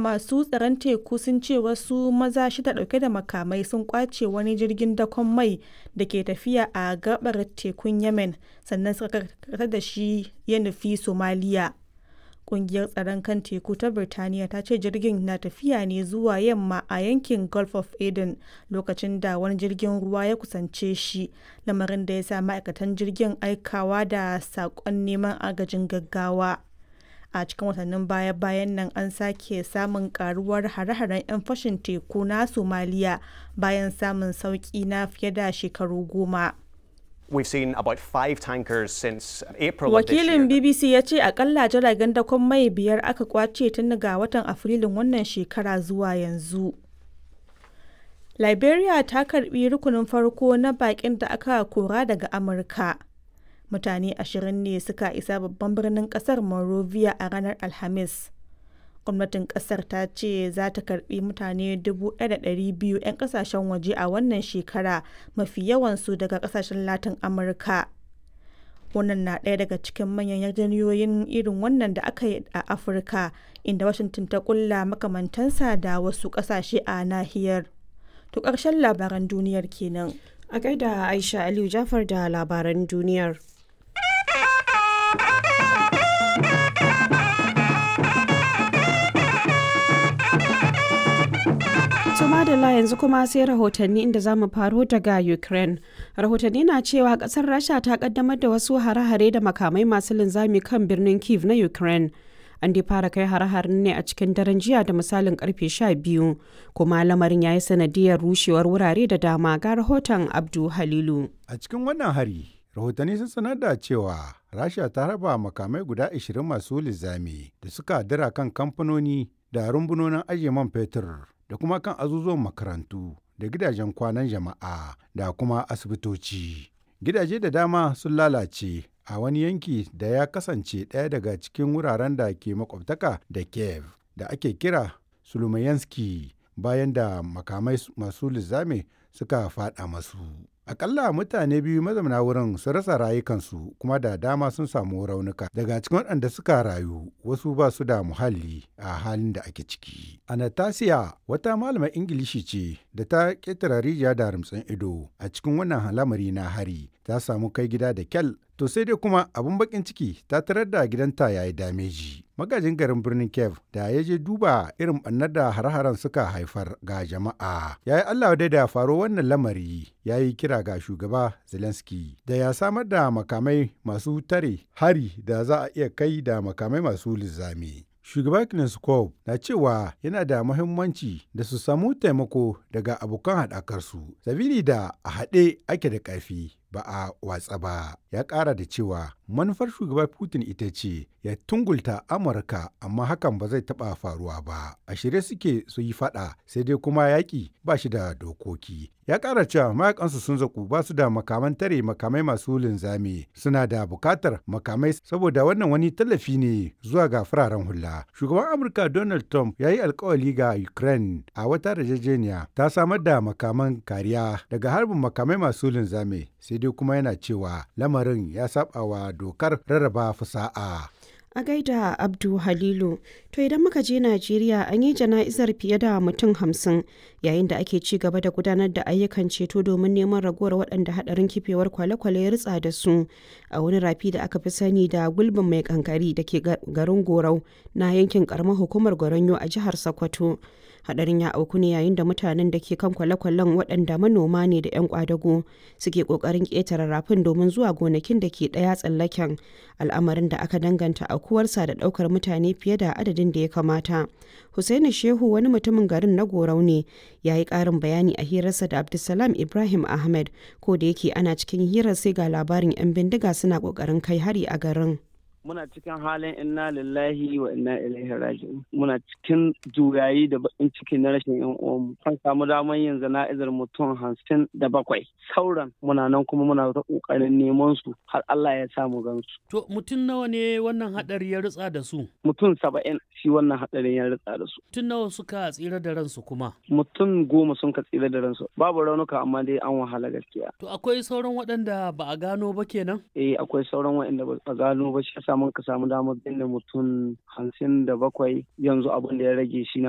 Masu tsaron teku sun ce wasu maza shida dauke da makamai sun kwace wani jirgin dakon mai da ke tafiya a gabar tekun Yemen sannan suka karkatar da shi ya nufi Somalia. Kungiyar Tsaron kan Teku ta Birtaniya ta ce jirgin na tafiya ne zuwa yamma a yankin Gulf of Aden lokacin da wani jirgin ruwa ya kusance shi, lamarin da ya sa ma'aikatan jirgin aikawa da sakon neman agajin gaggawa. A cikin watannin baya-bayan nan an sake samun karuwar hare-haren 'yan fashin teku na Somalia bayan samun sauki na fiye da shekaru 10. We've seen about five tankers since April of this year. Wakilin BBC ya ce akalla jiragen dakon mai biyar aka kwace tun daga watan Afrilun wannan shekara zuwa yanzu. Liberia ta karbi rukunin farko na bakin da aka kora daga Amurka. Mutane 20 ne suka isa babban birnin kasar Monrovia a ranar Alhamis. Gwamnatin kasar ta ce za ta karbi mutane 1,200 'yan kasashen waje a wannan shekara, mafi yawansu daga kasashen Latin Amurka. Wannan na ɗaya daga cikin manyan yarjejeniyoyin irin wannan da aka yi a Afirka, inda Washington ta kulla makamantansa da wasu ƙasashe a nahiyar. To ƙarshen labaran duniyar kenan. A gaida Aisha Aliyu Jafar da labaran duniyar. To madalla, yanzu kuma sai rahotanni, inda za mu faro daga Ukraine. Rahotanni na cewa kasar Rasha ta kaddamar da wasu hare-hare da makamai masu linzami kan birnin Kiev na Ukraine. An dai fara kai hare-haren ne a cikin daren jiya da misalin karfe 12, kuma lamarin ya yi sanadiyar rushewar wurare da dama. Ga rahoton Abdu Halilu. A cikin wannan hari, rahotanni sun sanar da cewa Rasha ta raba makamai guda 20 masu linzami da suka dira kan kamfanoni da rumbunonin ajiye man fetur da kuma kan azuzuwan makarantu da gidajen kwanan jama'a da kuma asibitoci. Gidaje da dama sun lalace a wani yanki da ya kasance ɗaya daga cikin wuraren da ke makwabtaka da Kiev da ake kira Sulumayanski bayan da makamai masu linzami suka faɗa masu. Akalla mutane biyu mazauna wurin sun rasa rayukansu kuma da dama sun samu raunuka. Daga cikin waɗanda suka rayu, wasu ba su da muhalli a halin da ake ciki. Anastasia wata malamar Ingilishi ce da ta ƙetare rijiya da rumtsin ido a cikin wannan lamari na hari, ta samu kai gida da kyal. To sai dai kuma abun bakin ciki, ta tarar da gidanta ya yi dameji. Magajin garin birnin Kiev da ya je duba irin ɓannar da har-haren suka haifar ga jama'a, ya yi Allah dai da faro wannan lamari, ya yi kira ga shugaba Zelensky da ya samar da makamai masu tare hari da za a iya kai da makamai masu linzami. Shugaba Kneskov na cewa yana da muhimmanci da su samu taimako daga abokan haɗakarsu, sabili da a haɗe ake da ƙarfi, ba a watsa ba. Ya ƙara da cewa manufar shugaba Putin ita ce ya tungulta Amurka, amma hakan ba zai taɓa faruwa ba. A shirye suke su yi faɗa, sai dai kuma yaƙi ba shi da dokoki. Ya ƙara cewa mayakansu sun zaku, ba su da makaman tare makamai masu linzami, suna da buƙatar makamai saboda wannan wani tallafi ne zuwa ga fararen hula. Shugaban Amurka Donald Trump ya yi alkawali ga Ukraine a wata yarjejeniya ta samar da makaman kariya daga harbin makamai masu linzami, sai dai kuma yana cewa lamarin ya saba wa dokar rarraba fasa'a. A gaida Abdu Halilu. To idan muka je Najeriya, an yi jana'izar fiye da mutum 50 yayin da ake ci gaba da gudanar da ayyukan ceto domin neman ragowar waɗanda haɗarin kifewar kwale-kwale ya ritsa da su a wani rafi da aka fi sani da gulbin mai kankari da ke garin Gorau na yankin karamar hukumar Goronyo a jihar Sokoto. Hadarin ya auku ne yayin da mutanen da ke kan kwale-kwalen, waɗanda manoma ne da 'yan kwadago, suke ƙoƙarin ƙetare rafin domin zuwa gonakin da ke ɗaya tsallaken, al'amarin da aka danganta aukuwarsa da ɗaukar mutane fiye da adadin da ya kamata. Hussaini Shehu wani mutumin garin na Gorau ne, ya yi ƙarin bayani a hirarsa da Abdulsalam Ibrahim Ahmed. Ko da yake ana cikin hirar, sai ga labarin 'yan bindiga suna ƙoƙarin kai hari a garin. Muna cikin halin inna lillahi wa inna ilaihi raji'un. Muna cikin juyayi da bakin ciki na rashin yan uwanmu. An samu damar yin jana'izar mutum 57. Sauran muna nan kuma muna ta kokarin neman su har Allah ya samu gansu. To mutum nawa ne wannan hadari ya ritsa da su? Mutum 70 shi wannan hadarin ya ritsa da su. Mutum nawa suka tsira da ransu kuma? Mutum 10 sun ka tsira da ransu. Babu raunuka, amma dai an wahala gaskiya. To akwai sauran waɗanda ba a gano ba kenan? Eh, akwai sauran waɗanda ba a gano ba, shi yasa mun ka samu damar binne mutum 57. Yanzu abin da ya rage shi na